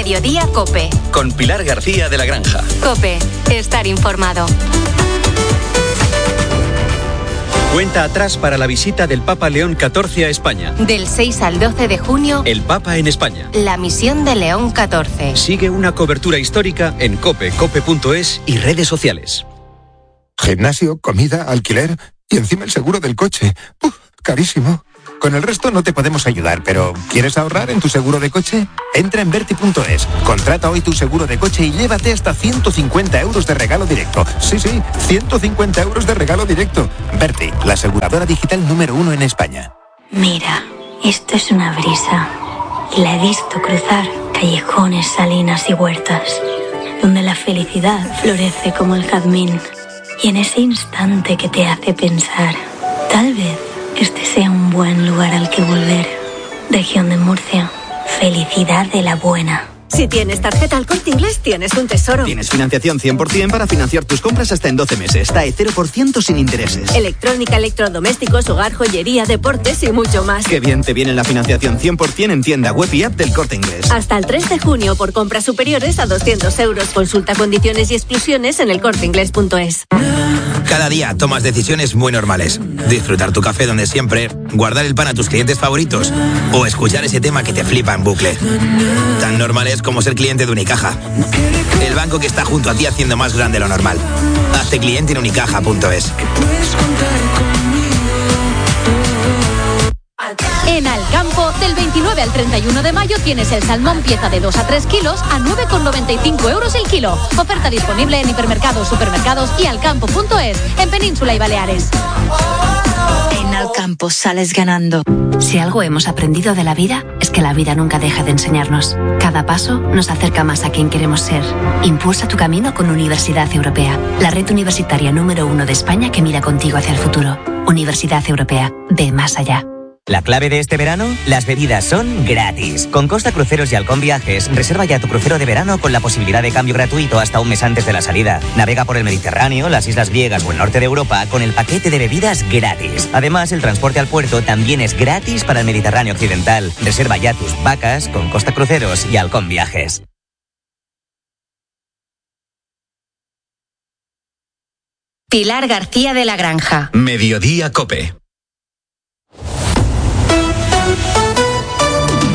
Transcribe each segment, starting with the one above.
Mediodía COPE. Con Pilar García de la Granja. COPE. Estar informado. Cuenta atrás para la visita del Papa León XIV a España. Del 6 al 12 de junio, El Papa en España. la misión de León XIV. Sigue una cobertura histórica en COPE, cope.es y redes sociales. Gimnasio, comida, alquiler y encima el seguro del coche. Carísimo. Con el resto no te podemos ayudar, pero ¿quieres ahorrar en tu seguro de coche? Entra en Verti.es, contrata hoy tu seguro de coche y llévate hasta 150 euros de regalo directo. Sí, 150 euros de regalo directo. Verti, la aseguradora digital número 1 en España. Mira, esto es una brisa y la he visto cruzar callejones, salinas y huertas, donde la felicidad florece como el jazmín. Y en ese instante que te hace pensar, tal vez este sea un buen lugar al que volver. Región de Murcia. Felicidad de la buena. Si tienes tarjeta El Corte Inglés, tienes un tesoro. Tienes financiación 100% para financiar tus compras hasta en 12 meses. TAE 0% sin intereses. Electrónica, electrodomésticos, hogar, joyería, deportes y mucho más. Qué bien te viene la financiación 100% en tienda web y app del Corte Inglés. Hasta el 3 de junio por compras superiores a 200 euros. Consulta condiciones y exclusiones en elcorteinglés.es. Cada día tomas decisiones muy normales. Disfrutar tu café donde siempre, guardar el pan a tus clientes favoritos o escuchar ese tema que te flipa en bucle. Tan normales como ser cliente de Unicaja. El banco que está junto a ti haciendo más grande lo normal. Hazte cliente en unicaja.es. En Alcampo, del 29 al 31 de mayo tienes el salmón pieza de 2 a 3 kilos a 9,95 euros el kilo. Oferta disponible en hipermercados, supermercados y alcampo.es, en Península y Baleares. En Alcampo sales ganando. Si algo hemos aprendido de la vida, es que la vida nunca deja de enseñarnos. Cada paso nos acerca más a quien queremos ser. Impulsa tu camino con Universidad Europea, la red universitaria número 1 de España que mira contigo hacia el futuro. Universidad Europea, ve más allá. La clave de este verano, las bebidas son gratis. Con Costa Cruceros y Halcón Viajes, reserva ya tu crucero de verano con la posibilidad de cambio gratuito hasta un mes antes de la salida. Navega por el Mediterráneo, las islas griegas o el norte de Europa con el paquete de bebidas gratis. Además, el transporte al puerto también es gratis para el Mediterráneo occidental. Reserva ya tus vacas con Costa Cruceros y Halcón Viajes. Pilar García de la Granja. Mediodía COPE.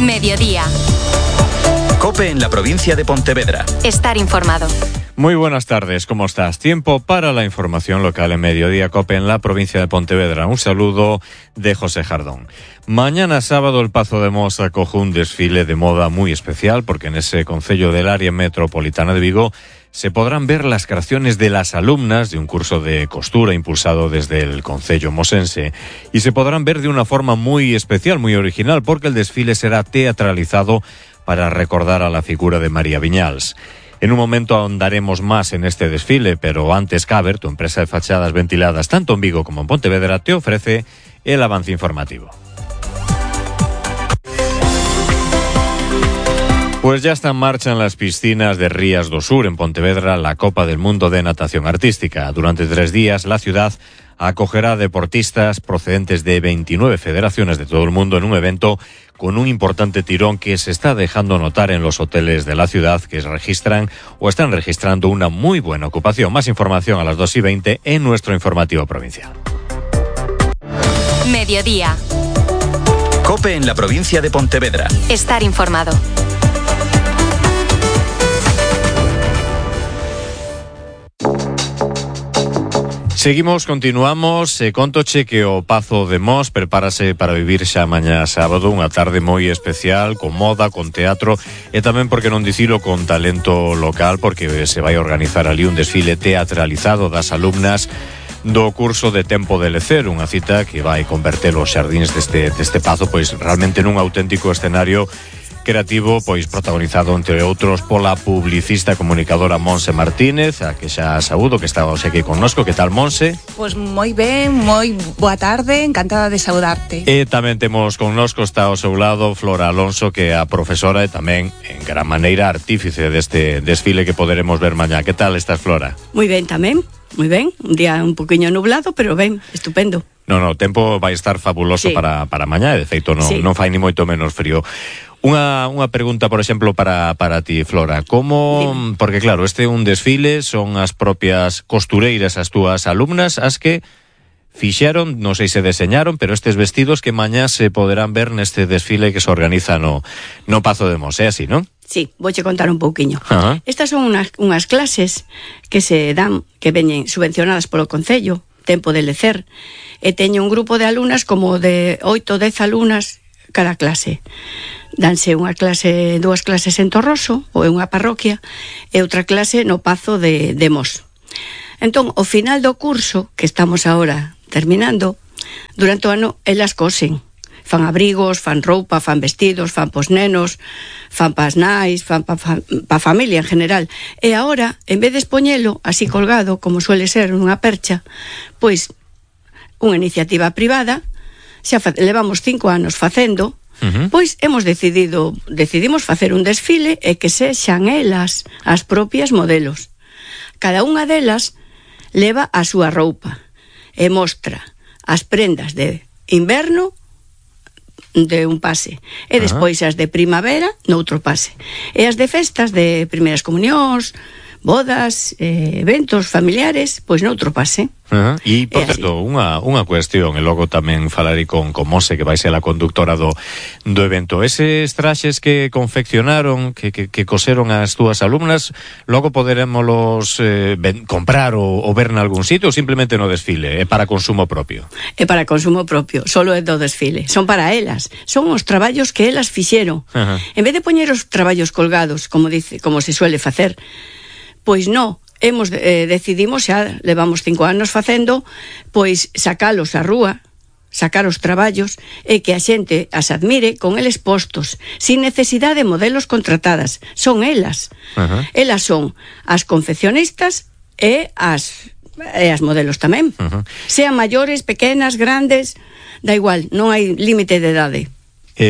Mediodía. COPE en la provincia de Pontevedra. Estar informado. Muy buenas tardes, ¿cómo estás? Tiempo para la información local en Mediodía COPE en la provincia de Pontevedra. Un saludo de José Jardón. Mañana sábado el Pazo de Mos acoge un desfile de moda muy especial porque en ese concello del área metropolitana de Vigo se podrán ver las creaciones de las alumnas de un curso de costura impulsado desde el concello mosense y se podrán ver de una forma muy especial, muy original, porque el desfile será teatralizado para recordar a la figura de María Viñals. En un momento ahondaremos más en este desfile, pero antes Caber, tu empresa de fachadas ventiladas tanto en Vigo como en Pontevedra, te ofrece el avance informativo. Pues ya está en marcha en las piscinas de Rías do Sur, en Pontevedra, la Copa del Mundo de Natación Artística. Durante 3 días, la ciudad acogerá deportistas procedentes de 29 federaciones de todo el mundo en un evento con un importante tirón que se está dejando notar en los hoteles de la ciudad, que registran o están registrando una muy buena ocupación. Más información a las 2:20 en nuestro informativo provincial. Mediodía. COPE en la provincia de Pontevedra. Estar informado. Continuamos, contoche que o Pazo de Mos prepárase para vivir xa mañá sábado unha tarde moi especial, con moda, con teatro e tamén, porque non dicilo, con talento local, porque se vai organizar ali un desfile teatralizado das alumnas do curso de Tempo de Lecer, unha cita que vai converter os xardíns deste Pazo pois realmente nun auténtico escenario creativo, pois protagonizado entre outros pola publicista e comunicadora Monse Martínez, a que xa saúdo, que está hoxe aquí connosco. Que tal, Monse? Pois moi ben, moi boa tarde, encantada de saudarte. E tamén temos connosco, está ao seu lado, Flora Alonso, que é a profesora e tamén, en gran maneira, artífice deste desfile que poderemos ver mañá. Que tal estás, Flora? Moi ben tamén, moi ben. Un día un poquinho nublado, pero ben, estupendo. No, o tempo vai estar fabuloso, sí, para mañá, e de feito non fai ni moito menos frío. Unha pregunta, por exemplo, para ti, Flora. Como, porque claro, este é un desfile, son as propias costureiras, as túas alumnas, as que fixeron, non sei se deseñaron, pero estes vestidos que mañá se poderán ver neste desfile que se organiza no Pazo de Mos, é así, non? Sí, vouche contar un pouquiño. Ajá. Estas son unhas clases que se dan, que veñen subvencionadas polo Concello, Tempo de Lecer, e teño un grupo de alumnas como de 8 ou 10 alumnas cada clase. Danse dúas clases en Torroso, ou en unha parroquia, e outra clase no Pazo de Mos. Entón, ao final do curso, que estamos agora terminando, durante o ano elas cosen. Fan abrigos, fan roupa, fan vestidos, fan pos nenos, fan pas nais, fan pa familia en general. E agora, en vez de expoñelo así colgado, como suele ser nunha percha, pois unha iniciativa privada, xa levamos 5 anos facendo, pois decidimos facer un desfile e que sexan elas as propias modelos. Cada unha delas leva a súa roupa e mostra as prendas de inverno de un pase e despois as de primavera noutro pase e as de festas de primeiras comunións, bodas, eventos familiares, pois noutro pase. E, por certo, unha cuestión, e logo tamén falarei con Monse, que vai ser a conductora do evento. Eses traxes que confeccionaron, que coseron as túas alumnas, logo poderémolos comprar ou ver nalgún sitio, ou simplemente no desfile? É para consumo propio? É para consumo propio, solo é do desfile. Son para elas, son os traballos que elas fixeron. En vez de poñer os traballos colgados, como se suele facer, pois non, decidimos, xa levamos 5 anos facendo, pois sacalos á rúa, sacar os traballos e que a xente as admire con eles postos, sin necesidade de modelos contratadas. Son elas. Elas son as confeccionistas e as modelos tamén. Sean maiores, pequenas, grandes, da igual, non hai límite de idade.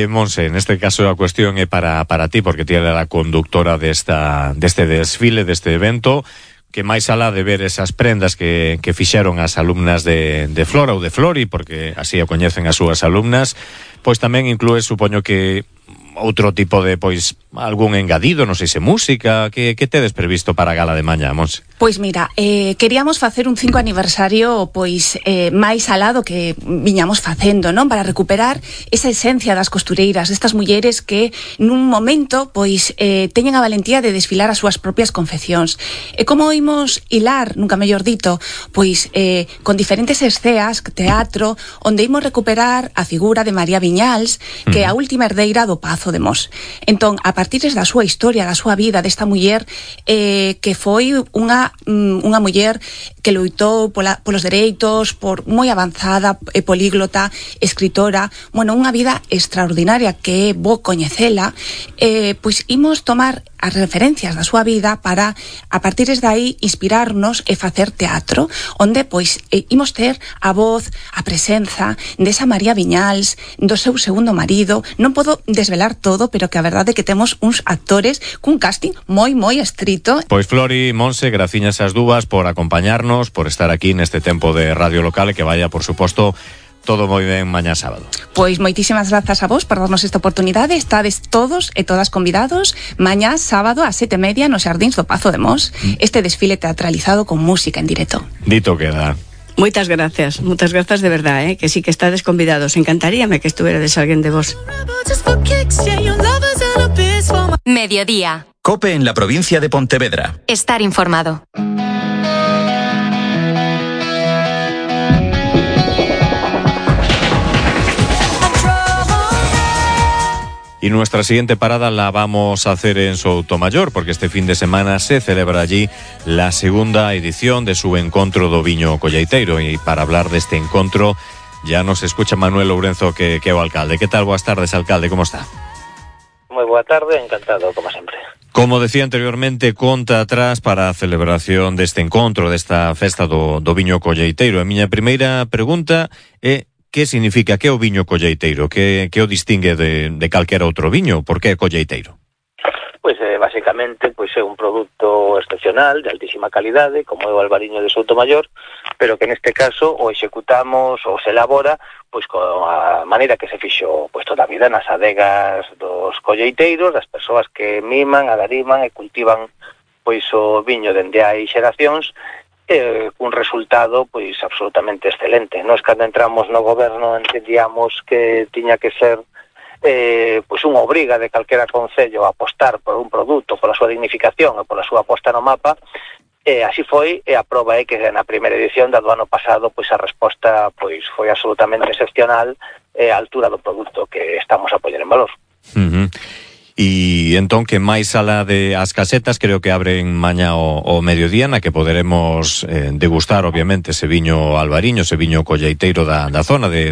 Monse, neste caso a cuestión é para ti, porque ti era a conductora deste desfile, deste evento, que máis alá de ver esas prendas que fixeron as alumnas de Flora ou de Flori, porque así o coñecen as súas alumnas, pois tamén inclúe, supoño que outro tipo de, pois, algún engadido, non sei se música, que tedes previsto para a gala de mañá, Monse? Pois mira, queríamos facer un 5 aniversario pois máis alado que viñamos facendo, non? Para recuperar esa esencia das costureiras, estas mulleres que nun momento pois teñen a valentía de desfilar as súas propias confeccións. E como imos hilar, nunca mellor dito, pois con diferentes esceas, teatro, onde imos recuperar a figura de María Viñals, que é a última herdeira do Pazo de Mos. Entón, a partir da súa historia, da súa vida, desta muller que foi unha muller que loitou polos dereitos, moi avanzada, políglota, escritora, bueno, unha vida extraordinaria que é bo coñecela, pois imos tomar as referencias da súa vida para, a partir de aí, inspirarnos e facer teatro, onde, pois, imos ter a voz, a presenza desa María Viñals, do seu segundo marido. Non podo desvelar todo, pero que a verdade é que temos uns actores cun casting moi estrito. Pois Flori, Monse, graciñas as dúas por acompañarnos, por estar aquí neste tempo de Radio Local, e que vaya, por suposto, todo moi ben mañá sábado. Pois moitísimas grazas a vos por darnos esta oportunidade. Estades todos e todas convidados mañá sábado ás 7:30 nos Xardíns do Pazo de Mos, este desfile teatralizado con música en directo. Dito queda. Moitas grazas de verdade, que sí que estades convidados. Encantaríame que estuverades alguén de vos. Mediodía. COPE en la provincia de Pontevedra. Estar informado. Y nuestra siguiente parada la vamos a hacer en Soutomayor, porque este fin de semana se celebra allí la segunda edición de su encontro do Viño Colleiteiro. Y para hablar de este encontro ya nos escucha Manuel Lourenzo, que é o alcalde. ¿Qué tal? Boas tardes, alcalde, ¿cómo está? Moi boa tarde, encantado, como sempre. Como decía anteriormente, conta atrás para a celebración deste encontro, desta festa do Viño Colleiteiro. A miña primeira pregunta é: que significa, que é o viño colleiteiro? Que o distingue de calquera outro viño? Por que é colleiteiro? Pois basicamente pois é un produto excepcional, de altísima calidade, como é o albariño de Soutomaior, pero que neste caso o executamos ou se elabora pois con a maneira que se fixo pois toda a vida nas adegas dos colleiteiros, das persoas que miman, agariman e cultivan pois o viño dende hai xeracións, cun resultado pois absolutamente excelente. Nós cando entramos no goberno entendíamos que tiña que ser pois unha obriga de calquera concello a apostar por un produto, pola súa dignificación e pola súa aposta no mapa, e así foi, e a proba é que na primeira edición do ano pasado pois a resposta pois foi absolutamente excepcional a altura do produto que estamos a poñer en valor. E entón que máis alá de as casetas creo que abren mañá o mediodía na que poderemos degustar obviamente ese viño albariño, ese viño colleiteiro da zona de